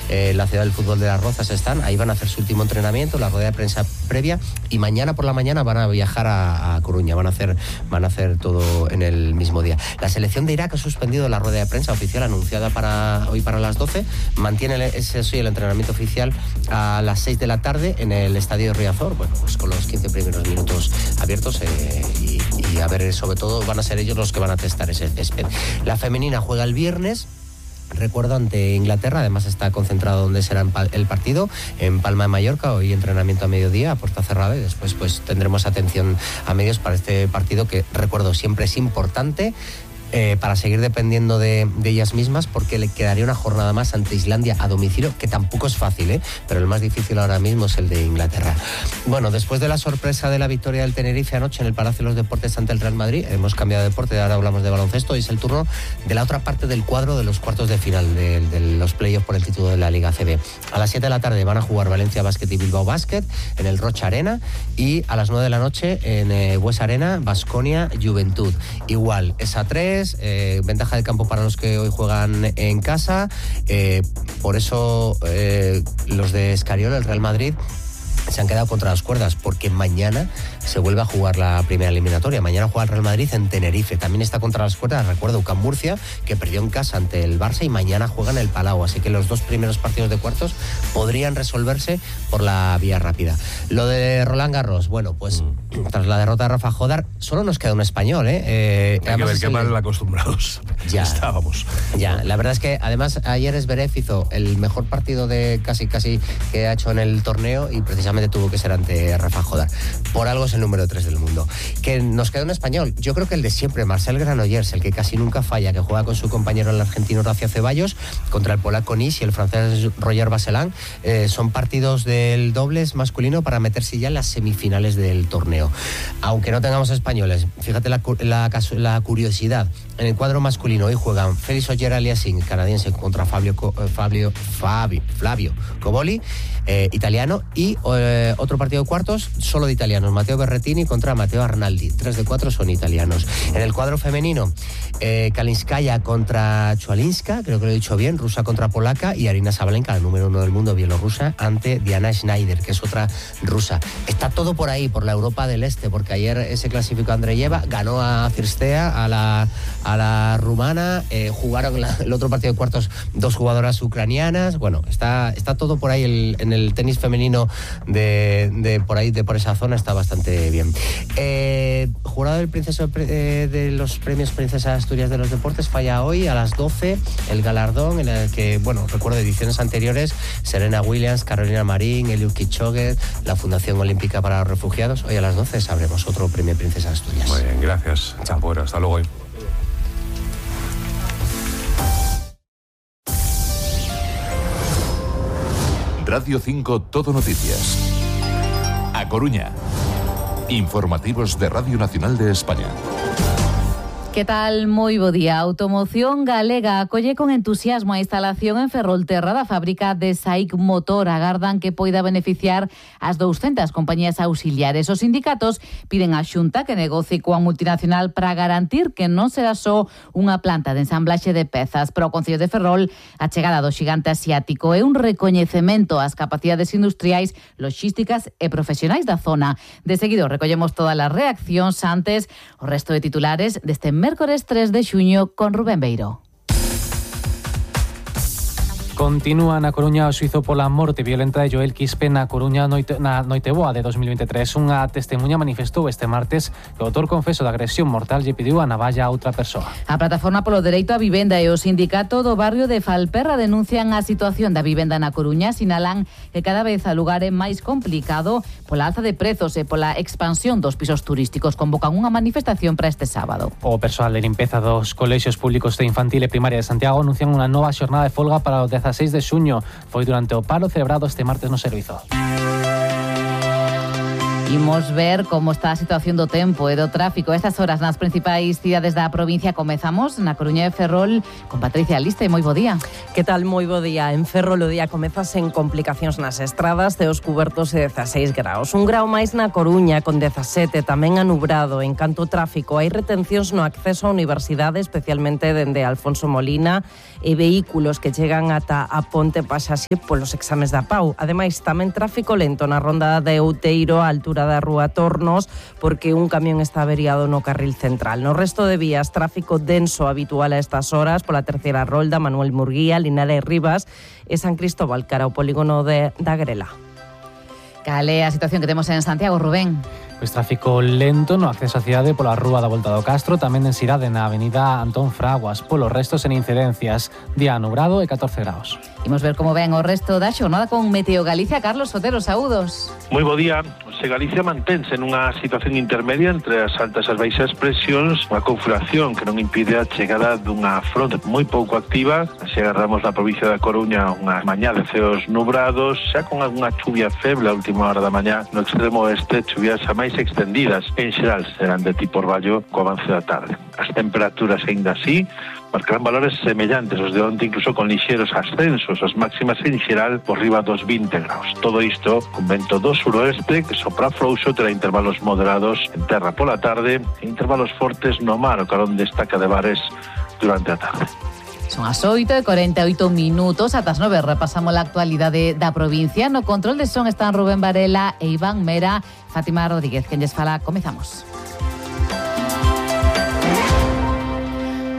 la ciudad del fútbol de Las Rozas están, ahí van a hacer su último entrenamiento, la rueda de prensa previa, y mañana por la mañana van a viajar a Coruña, van a hacer todo en el mismo día. La selección de Irak ha suspendido la rueda de prensa oficial anunciada hoy para las 12, mantiene el entrenamiento oficial a las 6 de la tarde en el estadio de Riazor, bueno, pues con los 15 primeros minutos abiertos y a ver, sobre todo van a ser ellos los que van a testar ese césped. La femenina juega el viernes, recuerdo, ante Inglaterra, además está concentrado donde será el partido, en Palma de Mallorca, hoy entrenamiento a mediodía, a puerta cerrada, y después pues tendremos atención a medios para este partido que, recuerdo, siempre es importante, para seguir dependiendo de ellas mismas, porque le quedaría una jornada más ante Islandia a domicilio, que tampoco es fácil, pero el más difícil ahora mismo es el de Inglaterra. Bueno, después de la sorpresa de la victoria del Tenerife anoche en el Palacio de los Deportes ante el Real Madrid, hemos cambiado de deporte, ahora hablamos de baloncesto, y es el turno de la otra parte del cuadro de los cuartos de final de los playoffs por el título de la Liga ACB. A las 7 de la tarde van a jugar Valencia Basket y Bilbao Basket en el Rocha Arena, y a las 9 de la noche en Bues Arena, Baskonia Juventud. Igual, es a 3, ventaja de campo para los que hoy juegan en casa, por eso los de Escariolo, el Real Madrid, se han quedado contra las cuerdas, porque mañana se vuelve a jugar la primera eliminatoria. Mañana juega el Real Madrid en Tenerife. También está contra las cuerdas, recuerdo, UCAM Murcia, que perdió en casa ante el Barça, y mañana juega en el Palau. Así que los dos primeros partidos de cuartos podrían resolverse por la vía rápida. Lo de Roland Garros, bueno, pues tras la derrota de Rafa Jodar, solo nos queda un español, Hay que ver qué mal acostumbrados ya estábamos. Ya, la verdad es que además ayer Zverev hizo el mejor partido de casi que ha hecho en el torneo, y precisamente tuvo que ser ante Rafa Jodar. Por algo es el número 3 del mundo. Que nos queda un español, yo creo que el de siempre, Marcel Granollers, el que casi nunca falla, que juega con su compañero el argentino Horacio Ceballos contra el polaco Nis y el francés Roger Vasselin. Son partidos del dobles masculino para meterse ya en las semifinales del torneo. Aunque no tengamos españoles, fíjate la curiosidad. En el cuadro masculino hoy juegan Félix Auger-Aliassime, canadiense, contra Flavio Coboli, italiano, y otro partido de cuartos solo de italianos, Matteo Berrettini contra Matteo Arnaldi. 3 de 4 son italianos. En el cuadro femenino, Kalinskaya contra Chualinska, creo que lo he dicho bien, rusa contra polaca, y Arina Sabalenka, la número 1 del mundo, bielorrusa, ante Diana Schneider, que es otra rusa. Está todo por ahí, por la Europa del Este, porque ayer se clasificó Andreyeva, ganó a Cirstea, a la rumana, jugaron el otro partido de cuartos 2 jugadoras ucranianas. Bueno, está todo por ahí, en el tenis femenino de por esa zona está bastante bien. Jurado de los premios Princesa de Asturias de los Deportes falla hoy a las 12 el galardón, en el que, bueno, recuerdo ediciones anteriores, Serena Williams, Carolina Marín, Eliud Kipchoge, la Fundación Olímpica para los Refugiados. Hoy a las 12 sabremos otro premio Princesa de Asturias. Muy bien, gracias. Champura, hasta luego. Radio 5 Todo Noticias. A Coruña. Informativos de Radio Nacional de España. Que tal? Moi bo día. Automoción Galega acolle con entusiasmo a instalación en Ferrolterra da fábrica de SAIC Motor. Agardan que poida beneficiar as 200 compañías auxiliares. Os sindicatos piden á Xunta que negocie coa multinacional para garantir que non será só unha planta de ensamblaxe de pezas. Para o Concello de Ferrol, a chegada do xigante asiático é un recoñecemento ás capacidades industriais, logísticas e profesionais da zona. De seguido, recollemos todas as reaccións antes o resto de titulares deste mércores 3 de xuño con Rubén Beiro. Continúa na Coruña o xuízo pola morte violenta de Joel Quispe na Coruña na Noiteboa de 2023. Unha testemunha manifestou este martes que o autor confeso da agresión mortal lle pediu a navalla a outra persoa. A Plataforma polo Dereito á Vivenda e o Sindicato do barrio de Falperra denuncian a situación da vivenda na Coruña, sinalan que cada vez o lugar é máis complicado pola alza de prezos e pola expansión dos pisos turísticos. Convocan unha manifestación para este sábado. O persoal de limpeza dos colexios públicos de infantil e primaria de Santiago anuncian unha nova xornada de folga para o 16 de xuño. Foi durante o paro celebrado este martes no servizo. Imos ver como está a situación do tempo e do tráfico. Estas horas nas principais cidades da provincia. Comezamos na Coruña de Ferrol con Patricia Liste. Moi bo día. Que tal? Moi bo día. En Ferrol o día comeza sen complicacións nas estradas, ceos cubertos e 16 graus. Un grau máis na Coruña con 17, tamén anubrado. En canto ao tráfico, hai retencións no acceso á universidade, especialmente dende Alfonso Molina, e vehículos que chegan ata a Ponte Paxaxe polos exames da PAU. Ademais, tamén tráfico lento na ronda de Outeiro, a altura da Rúa Tornos, porque un camión está averiado no carril central. No resto de vías, tráfico denso habitual a estas horas pola terceira rolda, Manuel Murguía, Linares Rivas e San Cristóbal cara ao polígono da Grela. Cal é a situación que temos en Santiago, Rubén? Pois tráfico lento no acceso á cidade pola Rúa da Volta do Castro, tamén densidade na avenida Antón Fraguas. Polo resto, sen incidencias. Día nubrado e 14 graus. Imos ver como ven o resto da xornada con Meteo Galicia. Carlos Sotero, saúdos. Moi bo día. Se Galicia mantense nunha situación intermedia entre as altas e as baixas presións, unha configuración que non impide a chegada dunha fronte moi pouco activa. Se agarramos na provincia da Coruña unha mañá de ceos nubrados, xa con algunha chuvia feble a última hora da mañá. No extremo oeste, chuvias a máis extendidas. En xeral serán de tipo orballo co avance da tarde. As temperaturas aínda así marcarán valores semellantes aos de onte, incluso con lixeros ascensos, as máximas en xeral por riba dos 20 graus. Todo isto con vento do suroeste que sopra frouxo, terá intervalos moderados en terra pola tarde e intervalos fortes no mar, o carón destaca de bares durante a tarde. Son as 8:48. Ata as 9 repasamos a actualidade da provincia. No control de son están Rubén Varela e Iván Mera. Fátima Rodríguez, quen lles fala. Comezamos.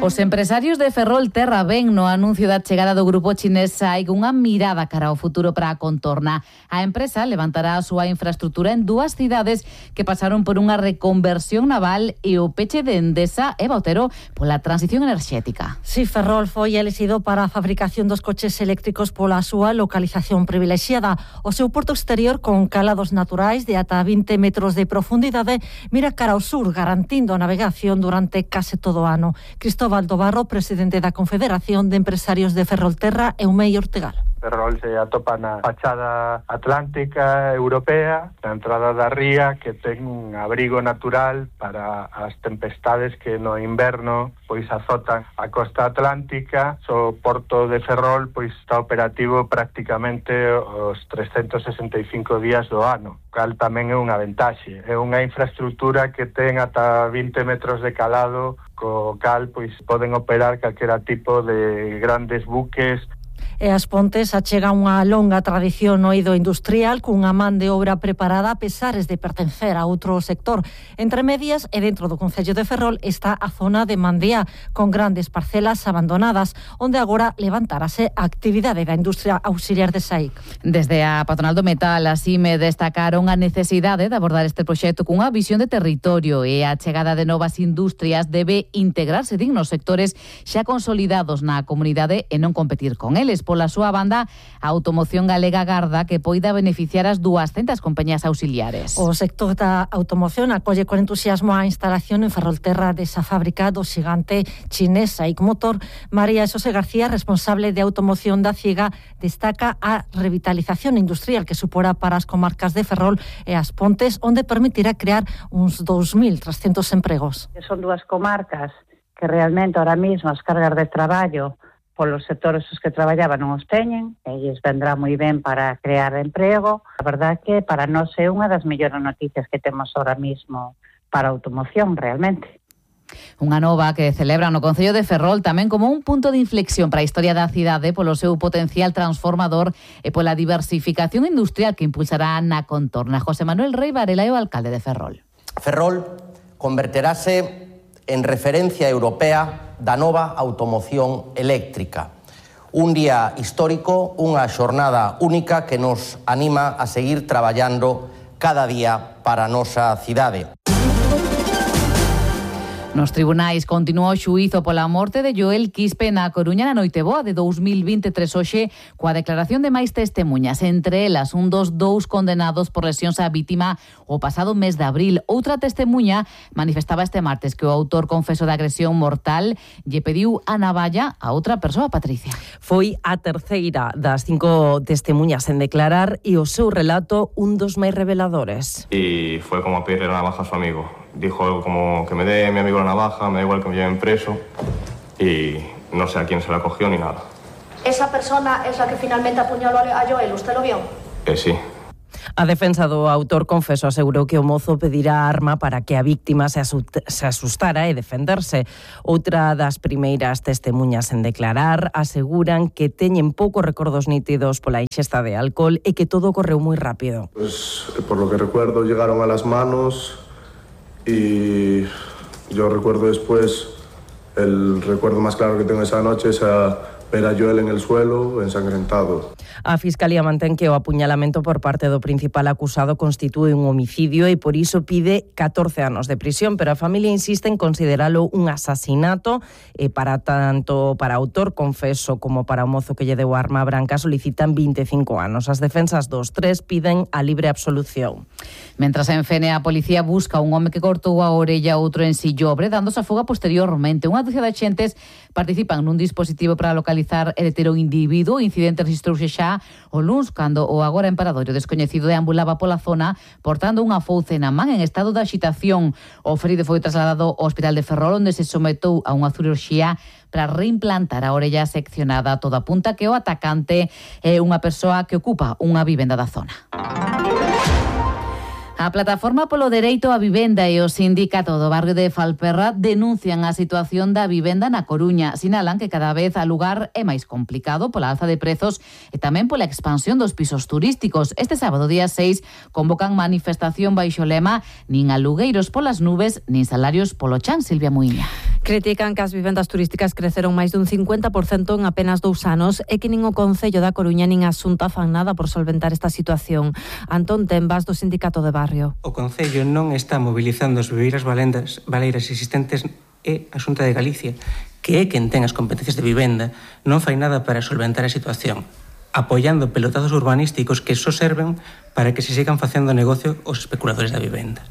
Os empresarios de Ferrolterra ven no anuncio da chegada do grupo chinés SAIC unha mirada cara ao futuro para a contorna. A empresa levantará a súa infraestrutura en dúas cidades que pasaron por unha reconversión naval e o peche de Endesa e Bautero pola transición enerxética. Si, Ferrol foi elixido para a fabricación dos coches eléctricos pola súa localización privilexiada. O seu porto exterior con calados naturais de ata 20 metros de profundidade mira cara ao sur, garantindo a navegación durante case todo o ano. Cristóbal Barro, presidente da Confederación de Empresarios de Ferrolterra, Eumei Ortegal. Ferrol se atopa na fachada atlántica europea, na entrada da ría, que ten un abrigo natural para as tempestades que no inverno pois azotan a costa atlántica. O porto de Ferrol pois está operativo prácticamente os 365 días do ano, cal tamén é unha ventaxe. É unha infraestructura que ten ata 20 metros de calado, co cal pois poden operar calquera tipo de grandes buques. E As Pontes achega unha longa tradición no eido industrial cunha man de obra preparada a pesares de pertencer a outro sector. Entre medias e dentro do concello de Ferrol está a zona de Mandía, con grandes parcelas abandonadas, onde agora levantarase a actividade da industria auxiliar de SAIC. Desde a patronal do metal, así me destacaron a necesidade de abordar este proxecto cunha visión de territorio e a chegada de novas industrias debe integrarse dignos sectores xa consolidados na comunidade e non competir con eles. Pola súa banda, a automoción galega agarda que poida beneficiar as 200 compañías auxiliares. O sector da automoción acolle con entusiasmo a instalación en Ferrolterra desa fábrica do xigante chinés SAIC Motor. María Xosé García, responsable de automoción da CIEGA, destaca a revitalización industrial que supora para as comarcas de Ferrol e As Pontes, onde permitirá crear uns 2.300 empregos. Son dúas comarcas que realmente ahora mismo as cargas de traballo polos sectores os que traballaban non os teñen, e lles vendrá moi ben para crear emprego. A verdade que para nós é unha das mellores noticias que temos ahora mismo para a automoción, realmente. Unha nova que celebra no Concello de Ferrol tamén como un punto de inflexión para a historia da cidade polo seu potencial transformador e pola diversificación industrial que impulsará na contorna. José Manuel Rey Varela é o alcalde de Ferrol. Ferrol converterase en referencia europea da nova automoción eléctrica. Un día histórico, unha xornada única que nos anima a seguir traballando cada día para a nosa cidade. Nos tribunais continúa o xuízo pola morte de Joel Quispe na Coruña na noite boa de 2023 hoxe coa declaración de máis testemunhas, entre elas un dos dous condenados por lesións á vítima o pasado mes de abril. Outra testemuña manifestaba este martes que o autor confeso da agresión mortal lle pediu a navalla a outra persoa, Patricia. Foi a terceira das 5 testemuñas en declarar e o seu relato un dos máis reveladores. Y fue como pedirle la navaja a su amigo. Dijo algo como que me dé mi amigo la navaja, me da igual que me lleven preso, y no sé a quién se la cogió ni nada. ¿Esa persona es la que finalmente apuñaló a Joel? ¿Usted lo vio? Sí. A defensa do autor confeso asegurou que o mozo pedirá a arma para que a víctima se asustara e defenderse. Outra das primeiras testemuñas en declarar aseguran que teñen poucos recordos nítidos pola ingesta de alcohol e que todo correu moi rápido. Pues por lo que recuerdo llegaron a las manos y yo recuerdo después, el recuerdo más claro que tengo esa noche es ver a Joel en el suelo, ensangrentado. A Fiscalía mantén que o apuñalamento por parte do principal acusado constitúe un homicidio e por iso pide 14 anos de prisión, pero a familia insiste en consideralo un asasinato e para tanto para autor confeso como para o mozo que lle deu a arma branca solicitan 25 anos. As defensas dos tres piden a libre absolución. Mentras en Fene a policía busca un home que cortou a orella a outro en Sillobre, dándose a fuga posteriormente. Unha dúcia de axentes participan nun dispositivo para localizar e deter o individuo. O incidente registrouse xa o luns, cando o agora emparadoiro descoñecido deambulaba pola zona portando unha fouce na man en estado de axitación. O ferido foi trasladado ao hospital de Ferrol, onde se sometou a unha cirurxía para reimplantar a orella seccionada. Todo apunta que o atacante é unha persoa que ocupa unha vivenda da zona. A Plataforma polo Dereito á Vivenda e o Sindicato do Barrio de Falperra denuncian a situación da vivenda na Coruña. Sinalan que cada vez o lugar é máis complicado pola alza de prezos e tamén pola expansión dos pisos turísticos. Este sábado, día 6, convocan manifestación baixo o lema nin alugueiros polas nubes, nin salarios polo chan. Silvia Muiña. Critican que as vivendas turísticas creceron máis dun 50% en apenas 2 anos e que nin o Concello da Coruña nin a Xunta fan nada por solventar esta situación. Antón Tembas, do Sindicato de Barrio. O Concello non está mobilizando as viveiras baleiras existentes e a Xunta de Galicia, que é quen ten as competencias de vivenda, non fai nada para solventar a situación, apoiando pelotazos urbanísticos que só serven para que se sigan facendo negocio os especuladores da vivenda.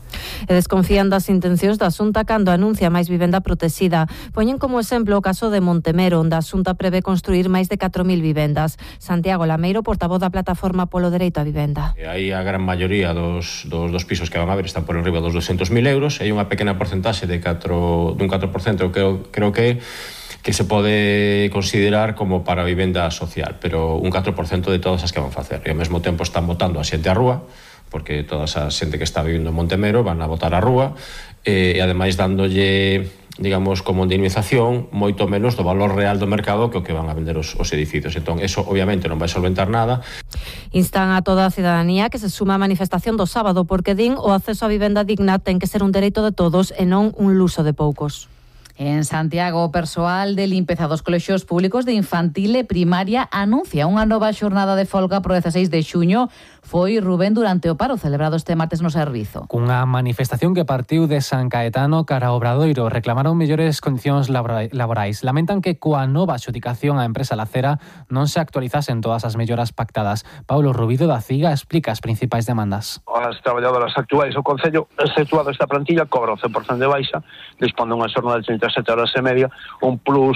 E desconfían das intencións da Xunta cando anuncia máis vivenda protexida. Poñen como exemplo o caso de Montemero, onde a Xunta prevé construir máis de 4.000 vivendas. Santiago Lameiro, portavoz da Plataforma polo Dereito á Vivenda. Aí a gran maioría dos pisos que van a ver están por enriba dos 200.000 euros, e hai unha pequena porcentaxe dun 4% creo que se pode considerar como para vivenda social, pero un 4% de todas as que van facer. E ao mesmo tempo están botando a xente á rúa, porque toda esa xente que está vivindo en Montemero van a botar á rúa, e ademais dándolle, digamos, como indemnización moito menos do valor real do mercado que o que van a vender os edificios. Entón, eso obviamente non vai solventar nada. Instan a toda a cidadanía que se suma á manifestación do sábado, porque din o acceso á vivenda digna ten que ser un dereito de todos e non un luxo de poucos. En Santiago, o persoal de limpeza dos colexios públicos de infantil e primaria anuncia unha nova xornada de folga pro 16 de xuño. Foi Rubén durante o paro celebrado este martes no servizo. Cunha manifestación que partiu de San Caetano cara ao Obradoiro, reclamaron mellores condicións laborais. Lamentan que coa nova adxudicación á empresa Lacera non se actualizasen todas as melloras pactadas. Paulo Rubido da CIGA explica as principais demandas. As traballadoras actuais do Concello, exceptuado esta plantilla, cobra o 100% de baixa, dispón dunha xornada de 37 horas e media, un plus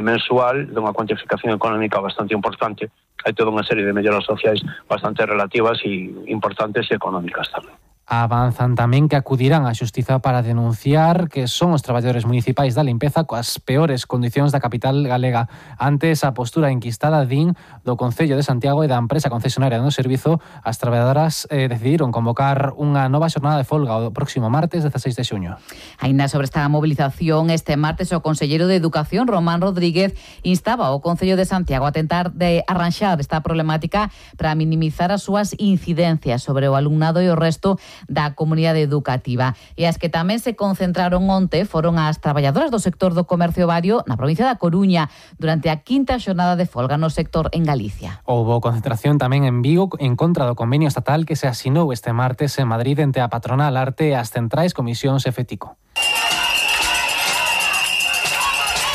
mensual dunha cuantificación económica bastante importante. Hai toda unha serie de melloras sociais bastante relativas e importantes e económicas tamén. Avanzan tamén que acudirán á xustiza para denunciar que son os traballadores municipais da limpeza coas peores condicións da capital galega. Antes a postura enquistada din do Concello de Santiago e da empresa concesionaria do servizo, as traballadoras decidiron convocar unha nova xornada de folga o próximo martes 16 de xuño. Ainda sobre esta movilización, este martes o conselleiro de Educación, Román Rodríguez, instaba ao Concello de Santiago a tentar de arranxar esta problemática para minimizar as súas incidencias sobre o alumnado e o resto da comunidade educativa. E as que tamén se concentraron onte foron as traballadoras do sector do comercio vario na provincia da Coruña durante a 5ª xornada de folga no sector en Galicia. Houbo concentración tamén en Vigo en contra do convenio estatal que se asinou este martes en Madrid entre a patronal Arte e as centrais Comisións e FETICO.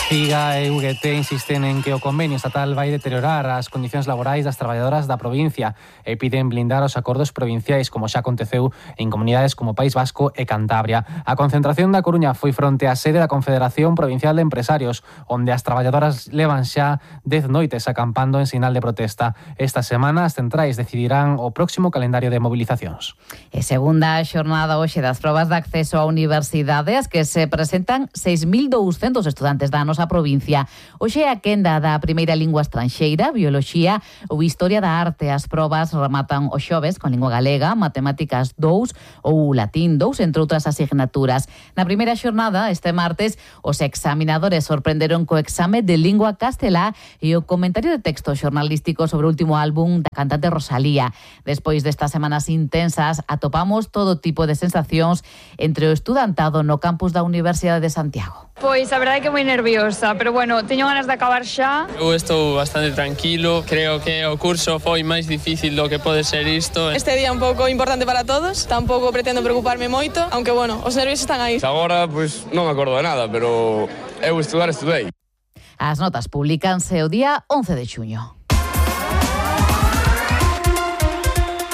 CIGA e UGT insisten en que o convenio estatal vai deteriorar as condicións laborais das traballadoras da provincia e piden blindar os acordos provinciais, como xa aconteceu en comunidades como País Vasco e Cantabria. A concentración da Coruña foi fronte á sede da Confederación Provincial de Empresarios, onde as traballadoras levan xa 10 noites acampando en sinal de protesta. Esta semana as centrais decidirán o próximo calendario de movilizacións. E segunda xornada hoxe das probas de acceso á universidade, as que se presentan 6.200 estudantes da nosa provincia. Hoxe é a quenda da primeira lingua estranxeira, bioloxía ou historia da arte. As probas rematan os xoves con lingua galega, matemáticas 2 ou latín 2, entre outras asignaturas. Na primeira xornada, este martes, os examinadores sorprenderon co exame de lingua castelá e o comentario de texto xornalístico sobre o último álbum da cantante Rosalía. Despois destas semanas intensas, atopamos todo tipo de sensacións entre o estudantado no campus da Universidade de Santiago. Pois a verdade é que moi nerviosa, pero bueno, teño ganas de acabar xa. Eu estou bastante tranquilo, creo que o curso foi máis difícil do que pode ser isto. Este día un pouco importante para todos, tampouco pretendo preocuparme moito, aunque bueno, os nervios están aí. Agora, pois, non me acordo de nada, pero eu estudei. As notas publicanse o día 11 de xuño.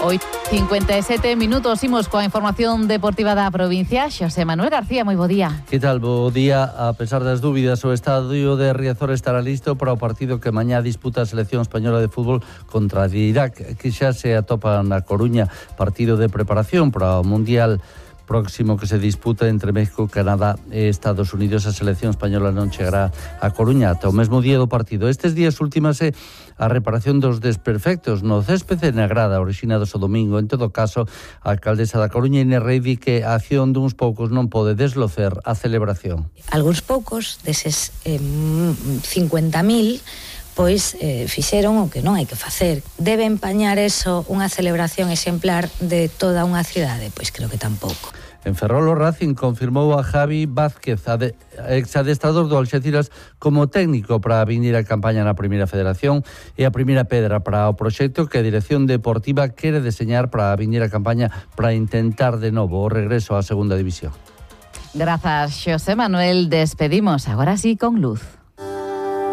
57 minutos, imos coa información deportiva da provincia. Xosé Manuel García, moi bo día. Que tal, bo día? A pesar das dúbidas, o estadio de Riazor estará listo para o partido que mañá disputa a selección española de fútbol contra Irak, que xa se atopa na Coruña, partido de preparación para o Mundial próximo que se disputa entre México, Canadá e Estados Unidos. A selección española non chegará a Coruña ata o mesmo día do partido. Estes días ultimase a reparación dos desperfectos no céspede na grada orixinados o domingo. En todo caso, a alcaldesa da Coruña, Inés Rey, di que a acción duns poucos non pode deslocer a celebración. Algúns poucos deses 50.000 pois fixeron o que non hai que facer. Debe empañar eso unha celebración exemplar de toda unha cidade? Pois creo que tampouco. En Ferrol, o Racing confirmou a Javi Vázquez, exadestrador do Alxeciras, como técnico para vinir a campaña na Primeira Federación e a primeira pedra para o proxecto que a Dirección Deportiva quere deseñar para vinir a campaña para intentar de novo o regreso á Segunda División. Grazas, Xosé Manuel. Despedimos agora sí con luz.